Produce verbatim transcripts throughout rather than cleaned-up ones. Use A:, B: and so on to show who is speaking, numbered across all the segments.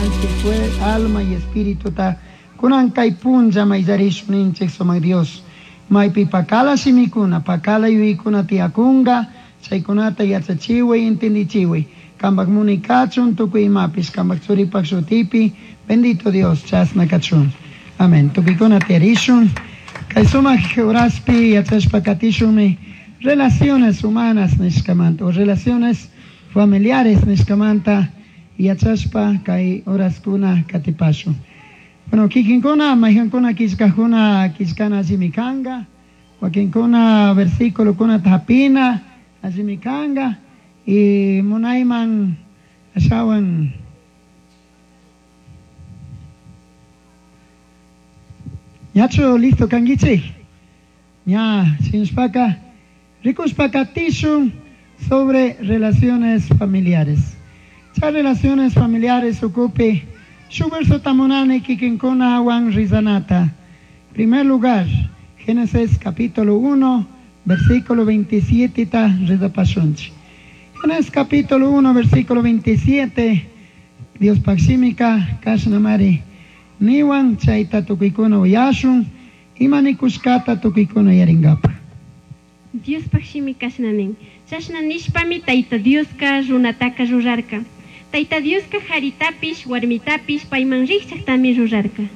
A: Ñukanchik alma y espirituta kunan kay punlla mayllarishun ninchik sumak Dios. Maypi pakala shimikuna, pakala yuyaykuna tiyakunka, chaykunata yachachiway, entendichiway. Kampak munay kachun tukuy imapish, kampak churipak shutipi, bendito Dios, chasna kachun. Amén. Tukuykuna tiyarishun. Kay sumak horaspi yachashpa katishunmi relaciones humanas nishkamanta o relaciones familiares nishkamanta yachashpa kay horaskuna katipashun. Bueno, kikinkuna, mayhankuna killkajkuna killkana allimi kanka, wakinkuna versículokuna hapina allimi kanka, y munayman ashawan ñachu listo kankichik, ña shinshpaka rikushpa katishun sobre relaciones familiares. Chay relaciones familiares ukupi shuk verso tamunani kikinkuna wan rizanata. Primer lugar, Génesis capítulo uno, versículo veintisiete ta rizapashunchik. Génesis capítulo uno, versículo veintisiete, Dios pakshimika kashnamari niwan chayta tukuykuna uyashun, ima nikushkata tukuykuna yaringapa.
B: Dios pakshimi kashna nin. Chashna nishpami Tayta Dioska runataka rurarka. Tayta Dioska haritapish, warmitapish, payman rikchaktami rurarka.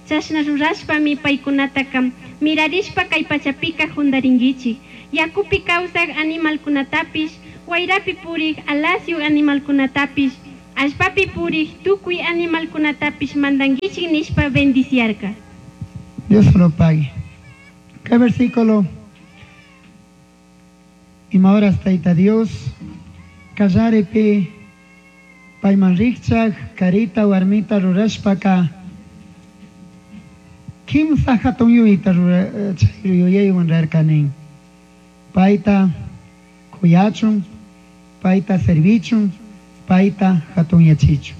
B: Chashna rurashpami paykunataka mirarishpa kay pachapika jundarinkichik. Yakupi kawsak animalkunatapish, wayrapi purik alasyuk animalkunatapish, allpapi purik tukuy animalkunatapish mandankichik nishpa bendiciarka.
A: Dios lo pague. ¿Qué versículo? Ima horas Tayta Dios, kallaripi payman rikchak, karita warmita rurashpaka, kimsa hatun yuyayta rura, chay yuyaywan rarkanin. Payta kuyachun, payta servichun, payta hatunyachichun.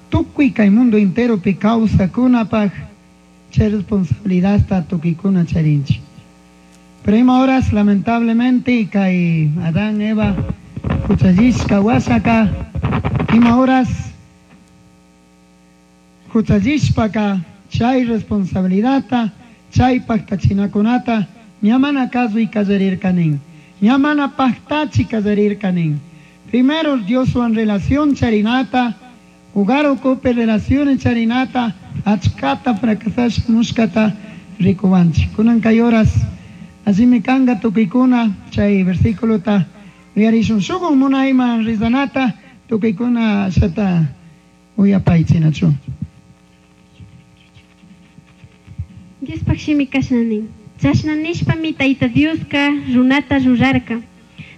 A: Tukuy kay mundo enteropi kawsakunapaj chay responsabilidadta tukuykuna charinchik. Pero ima horas lamentablemente kay Adán, Eva, huchallishka wasaka, ima horas huchallishpaka chay responsabilidadta, chay paktachinakunata, ñamana kasuy kallarirkanin, ñamana paktachi kallarirkanin. Primero Dioswan relación charinata, hogar ocupe relaciones charinata, achkata fracasasha mushkata rikuwanchik. Kunan kay horas así kanga tukuykuna chay versículo ta uyarishun shukun munayman rizanata tukuykuna ashata uyapaychinachu.
B: Diospaj shimi kashna nin. Chashna nishpami Tayta Dioska runata rurarka.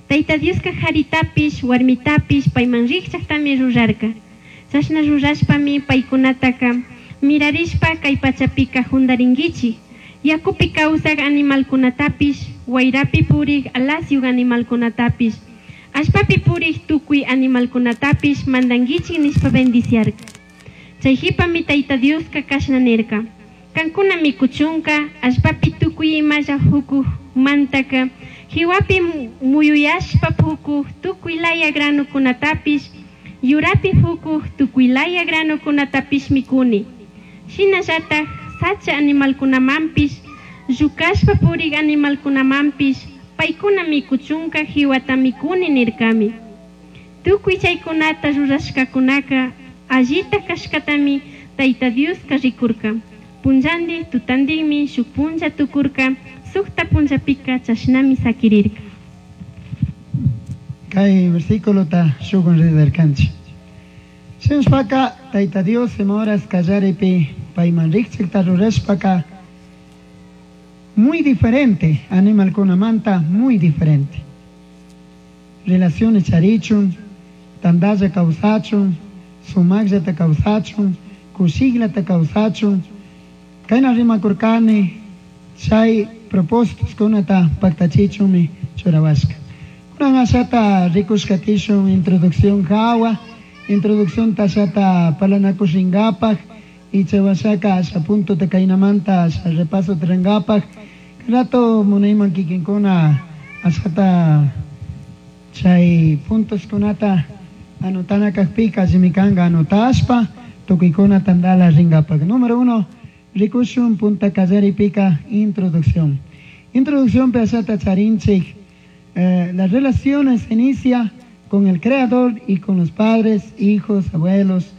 B: Tayta Dioska haritapish, warmitapish, payman rikchaktami rurarka. Chashna rurashpami paykunataka mirarishpa kay pachapika jundarinkichik. Yakupi kawsak animalkunatapish, wayrapi purik alasyuk animalkunatapish, allpapi purik tukuy animalkunatapish mandankichik nishpa bendiciarka. Chay hipami Tayta Dioska kashna nirka. Kankuna mikuchunka, allpapi tukuy imalla hukuj mantaka, hiwapi muyuyashpa pukuj tukuy laya granukunatapish, yurapi hukuj tukuy laya granukunatapish mikuni. Shinallataj sacha animalkunamanpish, llukashpa purik animalkunamanpish, paykuna mikuchunka hiwata mikuni nirkami. Tukuy chaykunata rurashkakunaka allita kashkatami Tayta Dioska rikurka. Punllandi tutandinmi shuk punlla tukurka, sukta punllapika chashnami sakirirka.
A: Kay versículo ta shukun ridarkanchik. Shinshpaka Tayta Dios ima horas kallaripi payman rikchikta rurashpaka muy diferente animalkunamanta, muy diferente. Relaciones charichun, tandalla kawsachun, sumakllata kawsachun, kushiklata kawsachun. Kayna rimakurkani chay propósitos kunata paktachichunmi churawashka. Kunan ashata rikushkatishun introducción hawa, introducción tashata palanakushinkapaj, y chawashaka asha punto te kaynamanta asha repaso trenkapaj. Rato munayman kikinkuna ashata chay puntos kunata Anotana kajpika allimi kanka anotashpa tukuykuna tandala rinkapak. Número uno, rikushun punta kallaripika introducción. Introducción ashata charinchik. Eh, las relaciones se inicia con el Creador y con los padres, hijos, abuelos,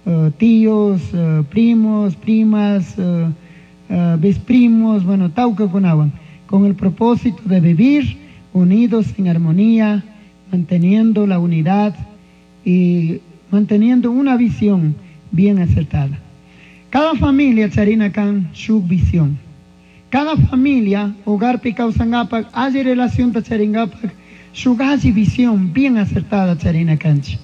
A: eh, tíos, eh, primos, primas, eh, eh, bisprimos, bueno, tauca kunawan, con el propósito de vivir unidos en armonía, manteniendo la unidad y manteniendo una visión bien acertada. Cada familia charina kan su visión. Cada familia, hogarpi kawsankapak, alli relación charingapak, shuk alli visión bien acertada charina kanchik.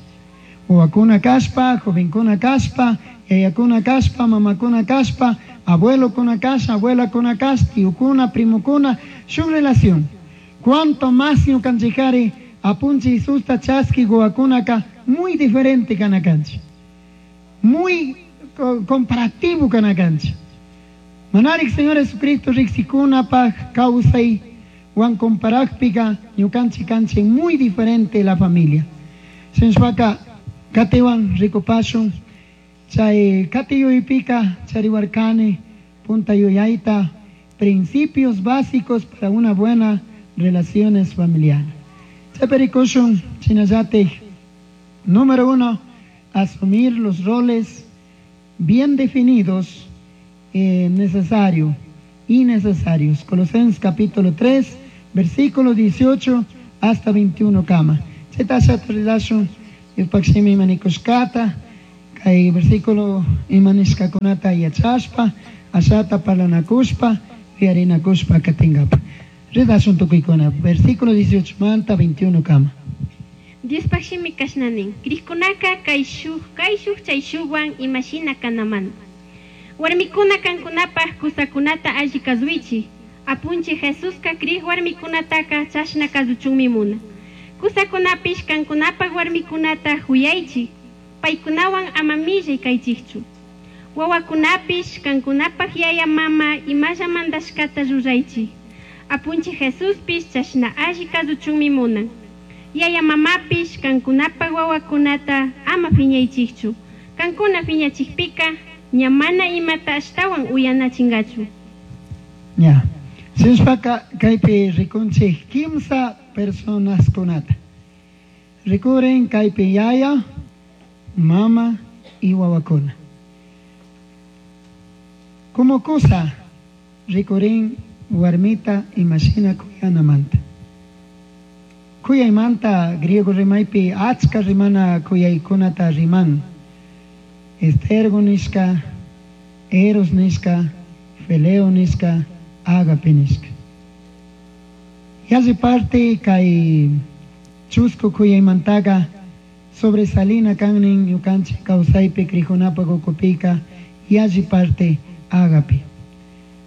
A: Wawakuna kashpa, jovenkuna kashpa, yayakuna kashpa, mamakuna kashpa, abuelokuna kashpa, abuelakuna kashpa, tíokuna, primokuna, shuk relación. Cuanto más ñukanchikari apunchik Jesusta chaski wawakunaka muy diferente kana kanchik. Muy comparativo kana kanchik. Manarik Señor Jesucristo riksikunapaj kawsay wan comparajpika ñukanchik kanchik muy diferente la familia. Shinashpaka katiwan rikupashun chay kati yuypika chariwarkani punta yuyayta principios básicos para una buena relaciones familiares. Chaypi rikushun shinallatik número uno, asumir los roles bien definidos, eh, necesario y necesarios. Colosenses capítulo tres, versículo dieciocho hasta veintiuno kama. Chayta relashun Diospaj shimi ima nikushkata, kay versículo ima nishkakunata yachashpa, ashata parlanakushpa, yuyarinakushpa katinkapak. Ridashun tukuykuna, versículo dieciocho manta veintiuno kama.
B: Diospaj shimi kashna nin, Crijkunaka kayshuj, kayshuj chayshujwan imashina kanamanta. Warmikuna kankunapaj kusakunata alli kasuichik. Apunchik Jesuska crij warmikunataka chashna kasuchunmi munan. Kusakunapish kankunapaj warmikunata huyaychik. Paykunawan ama millay kaychikchu. Wawakunapish kankunapaj yaya mama imalla mandashkata ruraychik. Apunchik Jesuspish chashna alli kasuchunmi munan. Yaya mamapish kankunapaj wawakunata ama phiñaychikchu. Kankuna phiñachikpika ña mana imata ashtawan uyanachinkachu.
A: Ya. Shinashpaka kaypi rikunchik kimsa personaskunata. Rikurin kaypi yaya, mama y wawakuna. Como kusa rikurin warmita imashina kuyanamanta. Kuyaymanta griego rimaypi achka rimana kuyaykunata riman. Estergo nishka, eros nishka, fileo nishka, ágape nishka. Yalli parte kay chusku kuyaymantaqa sobresalina kannin ñukanchik kawsaypi krijunapaq ukupika yalli parte ágape.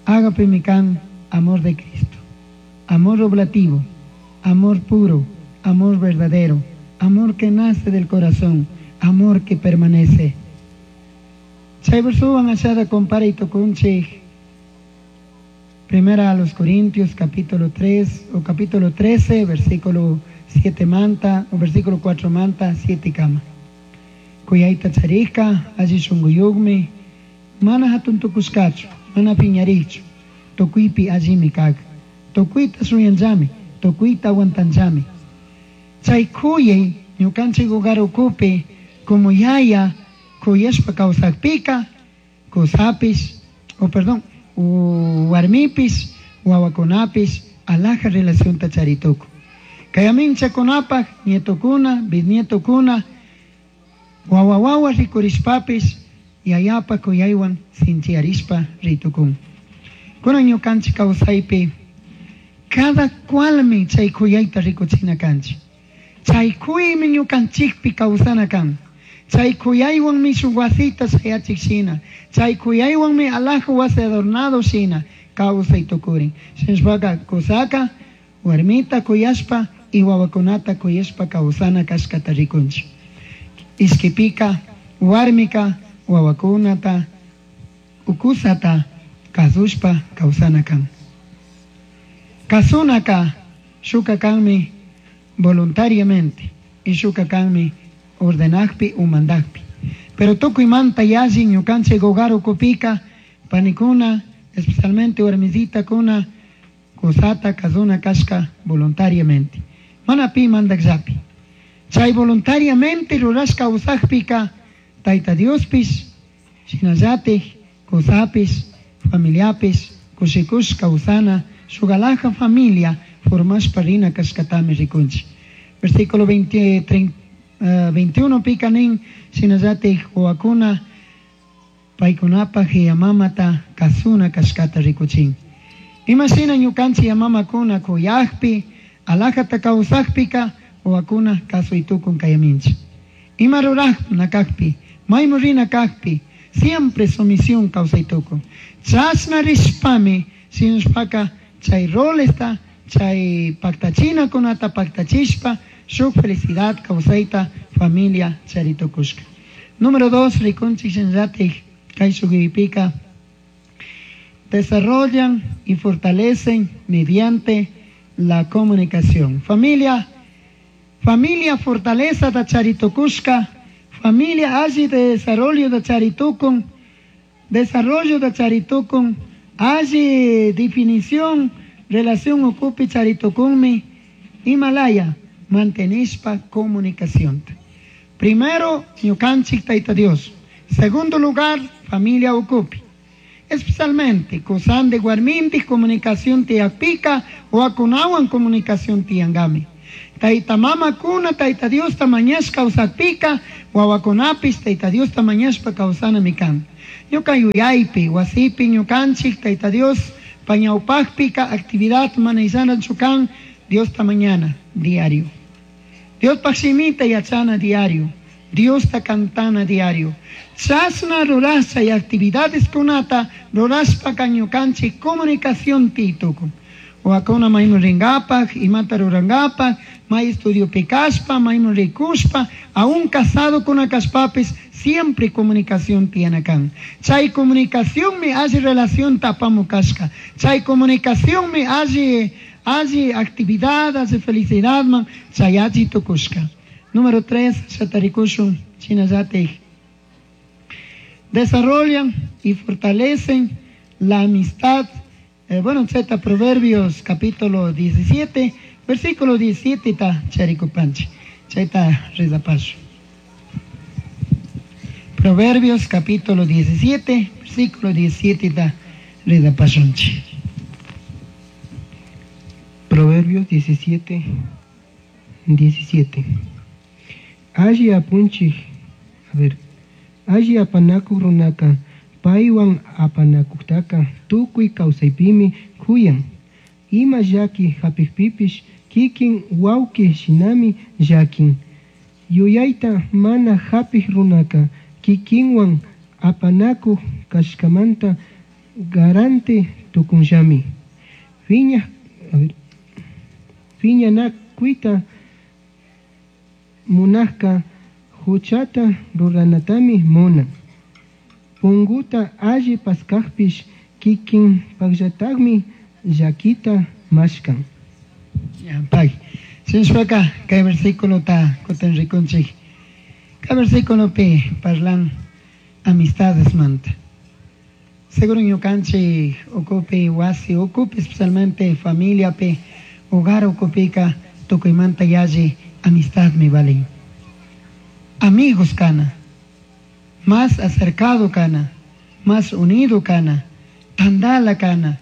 A: Ágape mi kan amor de Cristo, amor oblativo, amor puro, amor verdadero, amor que nace del corazón, amor que permanece. Chay versowan ashata comparay tukunchik Primera a los Corintios capítulo tres o capítulo trece, versículo siete manta o versículo cuatro manta siete kama. Kuyayta charika, alli shunquyuqmi, mana hatun tukushkachu, mana piñarichu, tukuypi allimi kak, tukuyta shuyanllami, tukuyta aguantanllami. Chay kuyay ñukanchik hogar ukupi como yaya kuyashpa kawsakpika, kusapish, o perdón, warmipis, wawakunapis, alaja relacionta charituku. Kay aminchakunapaj, nietokuna, bisnietokuna, wawa wawa rikurishpapis, yayapa kuyaywan sinchiarishpa ritukun. Kunan ñukanchik kawsaypi, cada cualmi chay kuyayta rikuchina kanchik. Chay kuymi ñukanchikpi kawsana kan. Chay kuyaywanmi shuk wasita shayachik shina. Chay kuyaywanmi alaja wasi adornado shina kawsay tukurin. Shinashpaka kusaka, warmita kuyashpa y wawakunata kuyashpa kawsana kashkata rikunchik. Ishkipika, warmika, wawakunata, ukusata kasushpa kawsana kan. Kasunaka shuka kanmi voluntariamente y shuka kanmi Ordenakpi o mandakpi. Pero tukuymanta yalli ñukanchik hogar ukupika panikuna, especialmente warmisitakuna, kusata kazuna kashka voluntariamente. Mana pi mandakllapi. Chay voluntariamente rurashka usakpika Tayta Diospish, shinallatik, kusapish, familiapish, kushikushka usana, shuk familia formashpa rina kashkatami rikunchik. Versículo veinte, treinta, uh, veintiuno pika nin, shinallatik wawakuna paykunapaj yamamata kasuna kashkata rikuchin. Imashina ñukanchik yamamakuna kuyakpi, alajata kawsakpika wawakuna kasuytukun kayaminchik. Ima rurajna kakpi, maymu rina kakpi, siempre sumisión kawsaytukun. Chashna rishpami, sinushpaka chay rolesta, chay paktachinakunata paktachishpa, shuk felicidad kawsayta familia charitukushka. Número dos, rikunchik shinallatik kay shukipika, desarrollan y fortalecen mediante la comunicación. Familia, familia fortaleza da charitukushka, familia alli de desarrollo da charitukun, desarrollo da charitukun, alli definición, relación ocupi charitukunmi, Himalaya, mantenishpa comunicación. Primero, ñukanchik Tayta Dios. Segundo lugar, familia ocupi. Especialmente, kusande warminti comunicación tiyakpika o akunawan comunicación tiyangami. Tayta mama kuna, Tayta Dios tamañashpa kawsakpika, wawakunapis Tayta Dios tamañashpa kawsanami kan. Ñuka yuyaypi, wasipi ñukanchik Tayta Dios pañawpakpika actividad manayllanachu kan Dios tamañana diario. Dios pashimita yachana diario. Dios ta cantana diario. Chasna rurasha y actividades kunata rurashpa ñukanchik comunicación tituku. Wakuna maymu ringapaj, imata rurangapaj, may estudio pikashpa, maymu rikushpa, aún casado con kashpapis, siempre comunicación tiene kan. Chay comunicación me hace relación tapamu kashka. Chay comunicación me hace, hace actividad, hace felicidad, man, chayachi tukushka. Número tres, shatarikushun, chinayatej. Desarrollan y fortalecen la amistad. Eh, bueno, Z, Proverbios capítulo diecisiete, versículo diecisiete, ta charikupanchi. Chaita rezapaso. Proverbios capítulo diecisiete, versículo diecisiete, ta rezapashunchi.
C: Proverbios diecisiete, diecisiete. Alli apunchik, a ver, alli apanakuq runaka, paywan apanakuqtaqa tukuy kawsaypimi kuyan. Ima llaki hapikpipish kikin wawqi shinami llakin. Yuyayta mana hapik runaka kikinwan apanakuq kashkamanta garante tukunllami. Fiña, a ver, fiñanakuyta munajka huchata ruranatami munan. Punguta alli paskajpish kikin pakllatagmi llakita mashkan.
A: Pay. Sinshpaka kay versículo ta kutin rikunchik. Kay versículo pi parlan amistades manta. Seguro ñukanchik ukupi wasi ukupi especialmente familia pi hogar ukupika tukuymanta yalli amistad mi valin. Amigos kana, más acercado kana, más unido kana, tandala kana.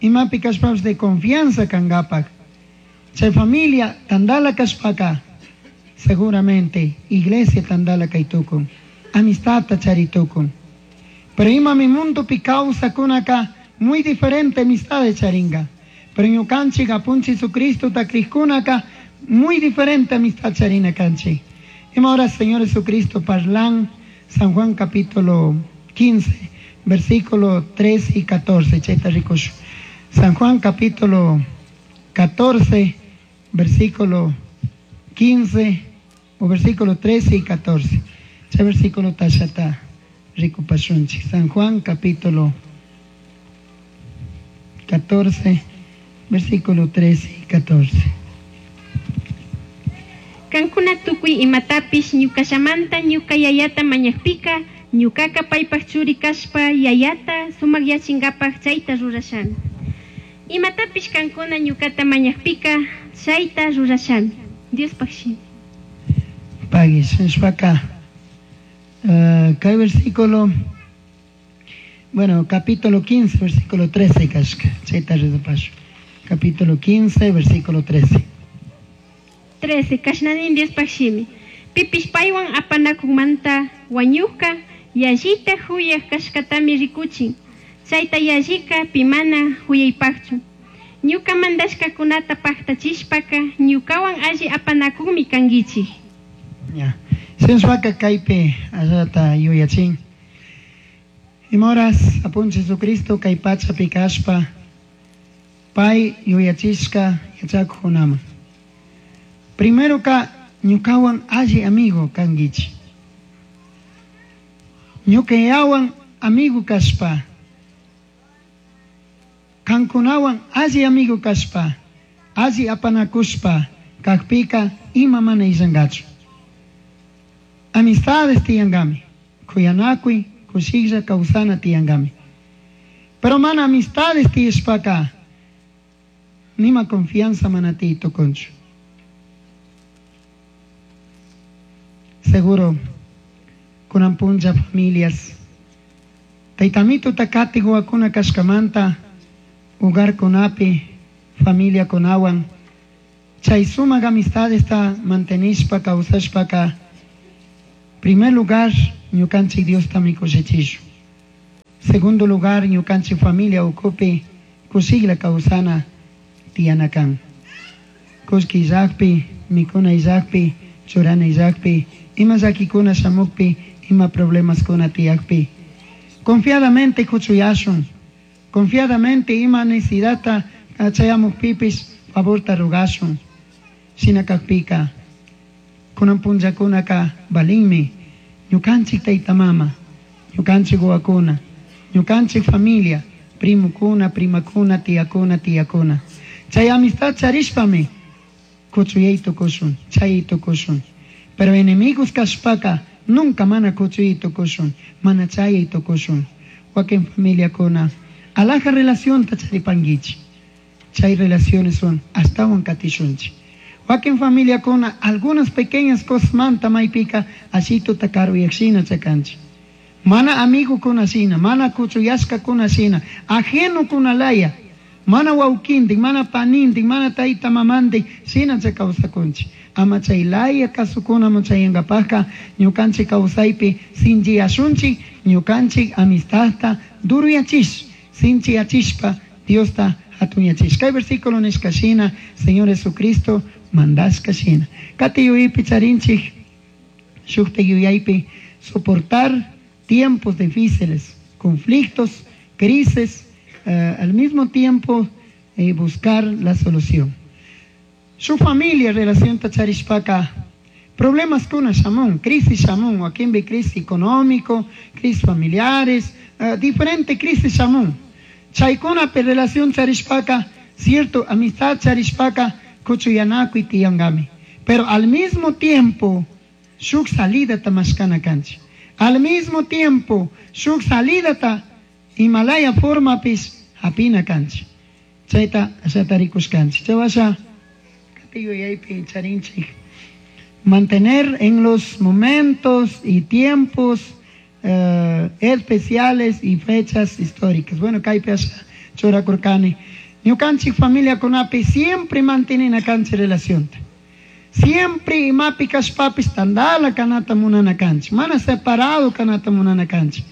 A: Imapi kashpapish de confianza kangapak. Chay familia tandala kashpaka, seguramente iglesia tandala kaytukun, amistad charitukun. Pero imami mundo pi kawsakunaka muy diferente amistad de charinga. Pero ñukanchik apunchi Jesucristo ta krikkunaka muy diferente amistad charina kanchi. Y ahora Señor Jesucristo parlan San Juan capítulo quince, versículo trece y catorce. Chaita rikushu. San Juan capítulo catorce, versículo quince, o versículo trece y catorce. Chay versículo tashata rikupashunchik. San Juan capítulo catorce, versículo trece y catorce.
B: Kankuna tukuy imatapish ñukallamanta ñuka yayata mañakpika, ñukaka paypak churi kashpa yayata sumakyachinkapak chayta rurashami. Imatapish kankuna ñukata mañakpika, chayta rurashami. Diospaj shimi.
A: Pagui, shinashpaka, uh, kay versículo, bueno, capítulo quince, versículo trece kashka, chayta rezapashu. Capítulo quince, versículo trece.
B: trece, kashnanin Diospaj shimi. Pipish paywan apanakunmanta wañukka, yallita huyaj kashkatami rikuchin. Chayta yallika pimana huyaypakchu. Ñuka mandashkakunata paktachishpaka, ñukawan alli apanakukmi kankichik.
A: Ya. Shinashpaka kaypi allata yuyachin. Imoras apunchik Jesucristo kay pachapi kashpa, pay yuyachishka yachakuqkunaman. Primero ka ñukawan alli amigo kankichik. Ñukayawan amigo kashpa, kankunawan alli amigo kashpa, alli apanakushpa, kakpika ima mana illankachu. Amistades tiyankami, kuyanakuy, kushilla kawsana tiyankami. Pero mana amistades tiyashpaka, nima confianza mana tiy tukunchu. Seguro, kunan punlla familias, taytamito takati huwakuna kashkamanta, hogarkunapi, familia kunawan, chay sumak amistades ta mantenishpa, kawsashpaka, primer lugar, ñukanchik Diosta mikushichishu. Segundo lugar, ñukanchik familia ukupi, kushikla kawsana tiyana kan. Kushki illakpi, mikuna illakpi, churana illakpi, ima llakikuna shamukpi, ima problemas kuna tiyakpi. Confiadamente kuchuyashun, confiadamente ima necesidadta chayamukpipis favorta rugashun. Shina kakpika, kunan punllakunaka balinmi, ñukanchik tayta mama, ñukanchik wawakuna, ñukanchik familia, primukuna, primakuna, tiyakuna, tiyakuna. Chay amistad charishpami kuchuyay tukushun, chay tukushun. Pero enemigos kashpaka nunca mana kuchuyay tukushun, mana chayay tukushun. Wakin familiakuna, alaja relación ta charipanguichi. Chay relaciones son astawan katishunchi. Wakin familiakuna, algunas pequeñas cosas manta maypika, ashito takaru yakshina chakanchi. Mana amigo kunashina, mana kuchuyashka kunashina, ajeno kunalaya, mana waukindik, mana panindik, mana tayta mamandik, shina chakawsakunchi. Ama chay laya kasukuna muchayankapajka, ñukanchik kawsaypi sinchiyashunchik, ñukanchik amistadta duruyachish, sinchiyachishpa Diosta hatunyachish. Kay versículo nishka shina, Señor Jesucristo mandashka shina. Kati yuyaypi charinchik, shukta yuyaypi soportar tiempos difíciles, conflictos, crisis, eh, al mismo tiempo, eh, buscar la solución. Su familia, relación tacharishpaka, problemas kuna shamun, crisis shamun, wakimbi crisis económico, crisis familiares, eh, diferente crisis shamun. Chaykuna pe relación charishpaka, cierto, amistad charishpaka, kuchuyanakuy tiyangami. Pero al mismo tiempo, shuk salida ta mashkana kanchi. Al mismo tiempo, shuk salida ta Himalaya forma pis hapina kanchi. Chayta ashatarikush kanchi. Chawasha, katiyo yaypi charinchik. Mantener en los momentos y tiempos, eh, especiales y fechas históricas. Bueno, kaypi asha churakurkani. Ñukanchik familia kunapi siempre mantienen a kanchi relación. Siempre imapi kashpapis tandala kanata munana kanchi. Mana separado kanata munana kanchi.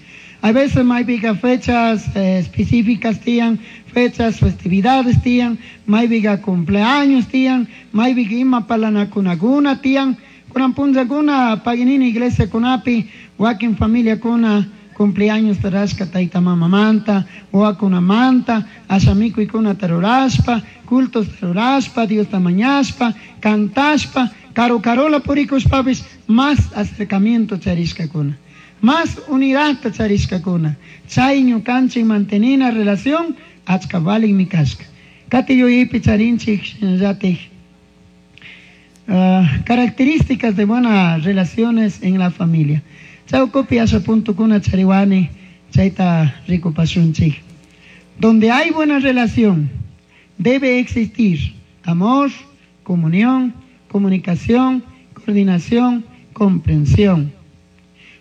A: A veces maypica fechas, eh, específicas tiyan, fechas, festividades tiyan, maypica cumpleaños tiyan, maypica ima palanakunakuna tiyan, kunan punllakuna paginini iglesia kunapi, wakin familia kuna cumpleaños tarashka tayta mamamanta, wakunamanta, ashamikuykuna tarurashpa, cultos tarurashpa, Dios tamañashpa, cantashpa, karu karola purikushpapis, más acercamiento charishkakuna. Más unidad charishkakuna. Chay ñukanchik mantenina relación, achka valin mi kashka. Kati yuyaypi charinchik shinallatik. Uh, características de buenas relaciones en la familia. Chaucopi asha puntukuna chariwani chayta rikupashunchik. Donde hay buena relación, debe existir amor, comunión, comunicación, coordinación, comprensión.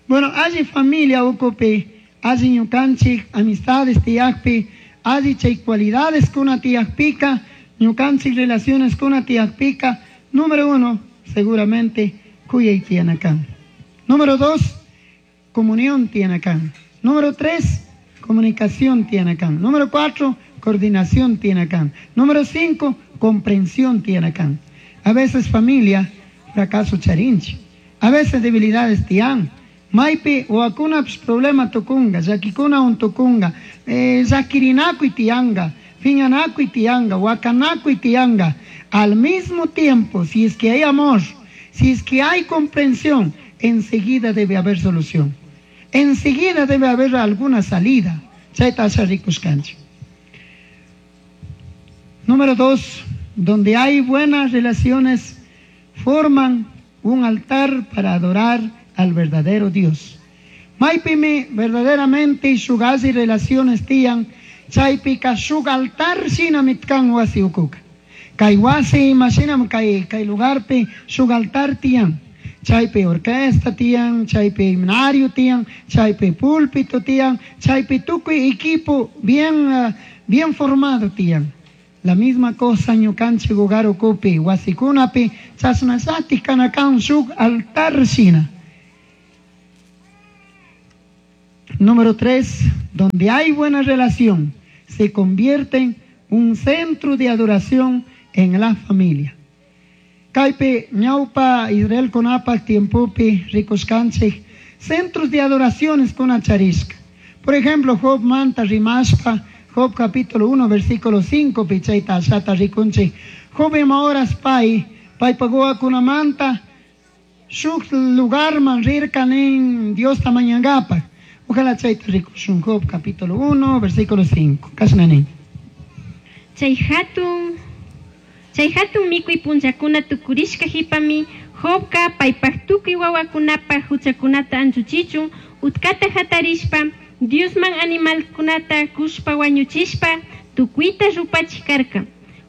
A: Bueno, hay familia ucupi, hay ñukanchik, amistades tiyakpi, hay chay cualidades kuna tiyakpika, ñukanchik relaciones kuna tiyakpika. Número uno, seguramente, kuyay tiyanakan. Número dos, comunión tiyanakan. Número tres, comunicación tiyanakan. Número cuatro, coordinación tiyanakan. Número cinco, comprensión tiyanakan. A veces familia, fracaso charinchi. A veces debilidades tiyan. Maipi, wakuna problema tukunga, llakikuna untukunga, eh, llakirinakuy tiyanga, fiñanakuy tiyanga, wakanakuy tiyanga. Al mismo tiempo, si es que hay amor, si es que hay comprensión, enseguida debe haber solución. Enseguida debe haber alguna salida. Chayta asha rikushkanchik. Número dos, donde hay buenas relaciones, forman un altar para adorar al verdadero Dios. Maipimi verdaderamente shugazi relaciones tiyan, chaypika shug altar shina mitkan wasi ukuka. Kay wasi imashinam kay kay lugarpi shug altar tiyan. Chaypi orquesta tiyan, chaypi himnario tiyan, chaypi púlpito tiyan, chaypi tukuy equipo bien, uh, bien formado tiyan. La misma cosa ñukanchik hogar ukupi, wasikunapi, chashnallati kanakan shuk altar shina. Número tres, donde hay buena relación, se convierte en un centro de adoración en la familia. Kaypi ñawpa Israel kunapak tiempopi rikushkanchik centros de adoraciones kuna charishka. Por ejemplo, Job manta rimashpa, Job capítulo uno, versículo cinco, pichayta ashata rikunchik. Job ima horas pay, paypa manta, shuk lugarman rirka nin Diosta mañangapak. Ojalá chayta rikushun Job capítulo uno, versículo cinco. Kashna nin.
B: Chay hatun, chay hatun mikuy punllakuna tukurishka hipami, Jobka paypak tukuy wawakunapaj huchakunata anchuchichun, utkata hatarishpa, Diosman animalkunata kushpa wañuchishpa, tukuyta rupachik karka.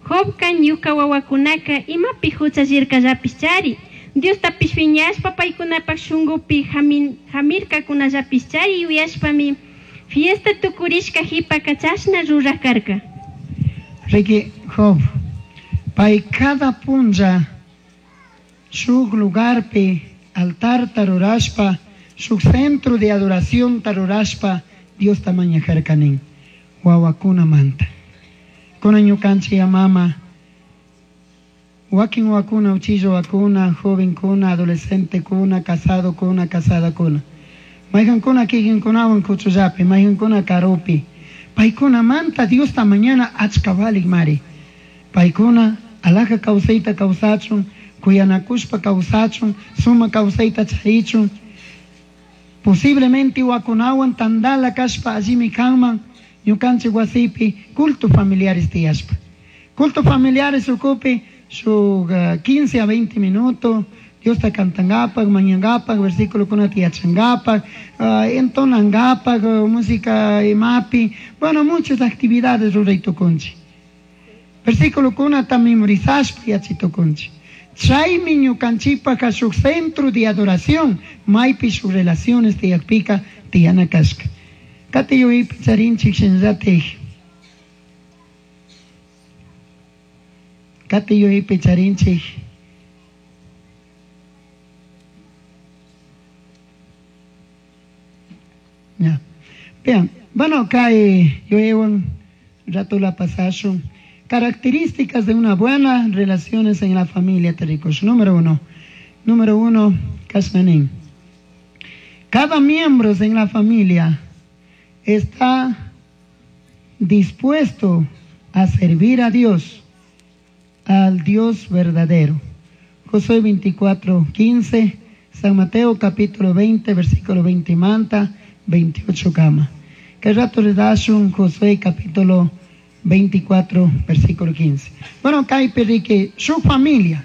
B: Jobka ñuka wawakunaka imapi huchallirkallapish chari, Diostapish phiñashpa paykunapak shunkupi hamin, hamirkakunallapish chari yuyashpami, fiesta tukurishka hipaka chashna ruraj karka.
A: Riki Job, pay cada punlla shuk lugarpi altar tarurashpa, shuk centro de adoración tarurashpa, Diosta mañajarkanin, wawakuna manta. Kuna ñukanchik mama, wakin wakuna, uchillo wakuna, joven kuna, adolescente kuna, casado kuna, casada kuna. Mayqankuna kikinkunawan kuchullapi, mayqankuna karupi. Paykuna manta Diosta mañana achka valik mari. Paykuna alaja kawsayta kawsachun, kuyanakushpa kawsachun, suma kawsayta charichun. Posiblemente wakunawan tandala kashpa allimi kanman, ñukanchik wasipi culto familiares tiyashpa. Culto familiares ukupi shuk uh, quince a veinte minutos, Diosta cantangapak, mañangapak, versículo kunata yachangapak, uh, entonangapak, uh, música imapi, bueno, muchas actividades ruray tukunchik. Versículo kunata memorizashpa yachitukunchik. Chaymi ñukanchikpaka shuk centro de adoración, maypi shuk relaciones tiyakpika tiyana kashka. Kati yuyaypi charinchik shinallatik. Kati yuyaypi charinchik. Ya. Bien, bueno, kay yuyaywan rato la pasashun. Características de una buena relaciones en la familia, tericos. Número uno. Número uno, kashnanin. Cada miembro en la familia está dispuesto a servir a Dios, al Dios verdadero. Josué veinticuatro, quince, San Mateo capítulo veinte, versículo veinte manta, veintiocho cama. Que rato le das un Josué capítulo veinticuatro, versículo quince. Bueno, acá hay que su familia,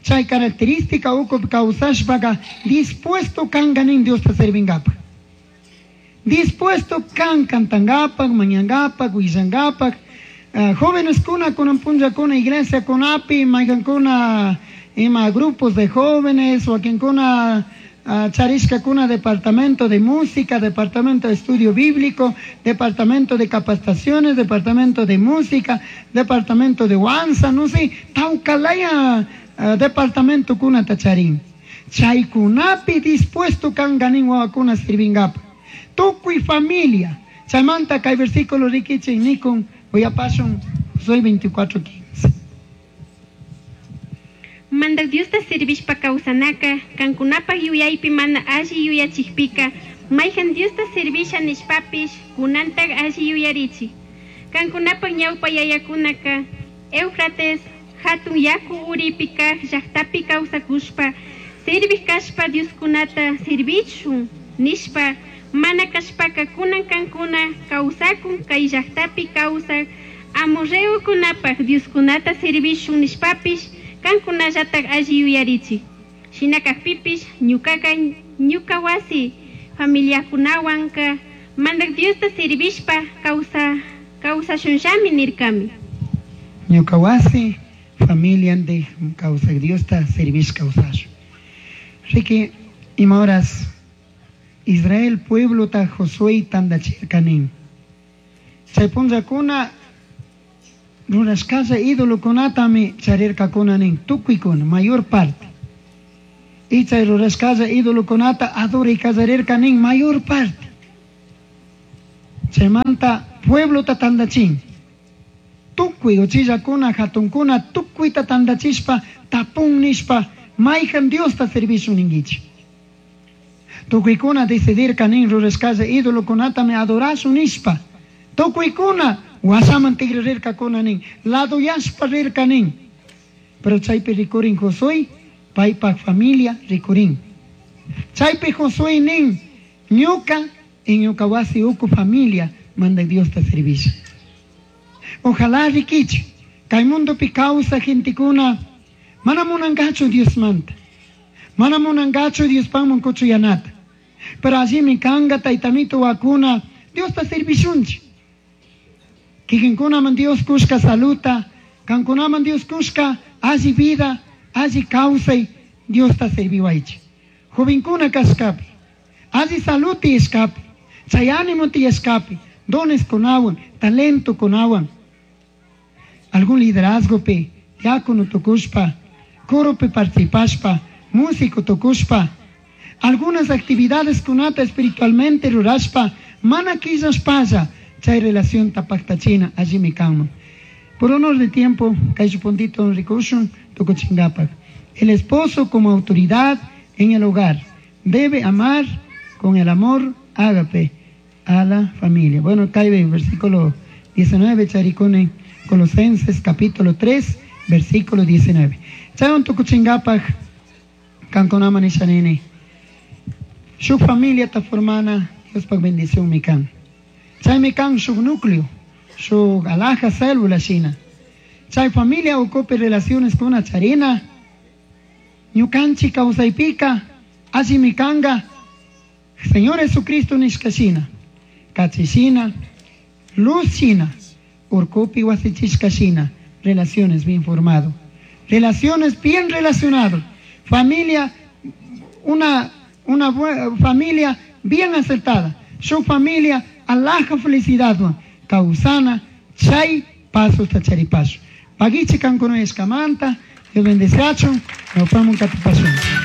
A: Chay característica ukupi kawsashpaqa dispuesto kanka nin Diosta servingapak. Dispuesto kan cantangapak, mañangapak, willangapak. Uh, jóvenes kuna kunan punllakuna iglesia kunapi, mayqankuna ima grupos de jóvenes, wakinkuna uh, charishkakuna departamento de música, departamento de estudio bíblico, departamento de capacitaciones, departamento de música, departamento de huanza, no sé, tawkalaya uh, departamento kunata charin. Chaykunapi dispuesto kanka nin wawakuna sirvingapak. Tukuy familia. Chaymanta kay versículo rikichik nikun uyapashun Josué veinticuatro quince.
B: Mandaj Diosta servishpa kawsanaka, kankunapaj yuyaypi mana alli yuyachikpika, mayhan Diosta servisha nishpapish, kunantaj alli yuyarichik. Kankunapaj ñawpa yayakunaka, Éufrates, hatun yaku uripi kaj llaktapi kawsakushpa, servij kashpa Dioskunata servichun nishpa, mana kashpaka kunan kankuna kawsakun kay llaktapi kawsak amorreokunapaj Dioskunata servishun nishpapish, kankunallatak alli yuyarichik. Shina kakpipish ñukaka ñuka wasi familiakunawanka Mandaj Diosta servishpa kawsa kawsashunllami nirkami.
A: Ñuka wasi familia kawsak Diosta servish kawsashun. Riki ima horas Israel pueblota Josué tandachirka nin. Chay punllakuna rurashkalla idolokunatami charirkakuna nin, tukuykuna, mayor parte. Y chay rurashkalla idolokunata adoray kallarirka nin, mayor parte. Chaymanta pueblota tandachin. Tukuy uchillakuna, hatunkuna, tukuyta tandachishpa, tapun nishpa, mayhan Diosta servishun ninkichik. Tukuykuna decidirka nin rurashkalla idolokunatami adorashun nishpa. Tukuykuna wasaman tigrarirkakuna nin, laduyashpa rirka nin. Pero chaypi rikurin Josué, paypaj familia rikurin. Chaypi Josué nin, ñuka y ñuka wasi uku familia manda Diosta servisha. Ojalá rikichik, kay mundopi kawsaj gentekuna, mana munankachu Diosmanta, mana munankachu Diospajman kuchuyanata. Pero allimi kanga taytamito wakuna Diosta servishunchik. Kikinkunaman Dios kushka saluta, kankunaman Dios kushka alli vida, alli kawsay Diosta serviwaychik. Jovenkuna kashkapi, alli salud tiyashkapi, chay ánimo tiyashkapi, dones kunawan, talento kunawan, algún liderazgo pi, diácono tukushpa, coro pi participashpa, músico tukushpa, algunas actividades kunata espiritualmente rurashpa, mana killashpalla, chay relación tapaktachina, allimi kanman. Por honor de tiempo, kay puntito rikushun, tukuchingapak. El esposo como autoridad en el hogar debe amar con el amor ágape a la familia. Bueno, cae el versículo diecinueve, charicone, Colosenses capítulo tres, versículo diecinueve. Chayon tukuchingapak, kankunama nishanini. Su familia ta formana, Dios pa bendición mi kan. Chay mi kan su núcleo, su alhaja célula china. Chay familia ocupe relaciones con una charina. Ñukanchi kawsaypika, alli mi kanga, Señor Jesucristo nishkashina, kachishina, luz china, urkupi wasichishkashina, relaciones bien formado, relaciones bien relacionado, familia, una, una bue-, familia bien acertada, su familia alhaja felicidad, causana, chay, paso tacharipaso. Pagichi kankuno escamanta, Dios bendice, nos vemos en Catipasón.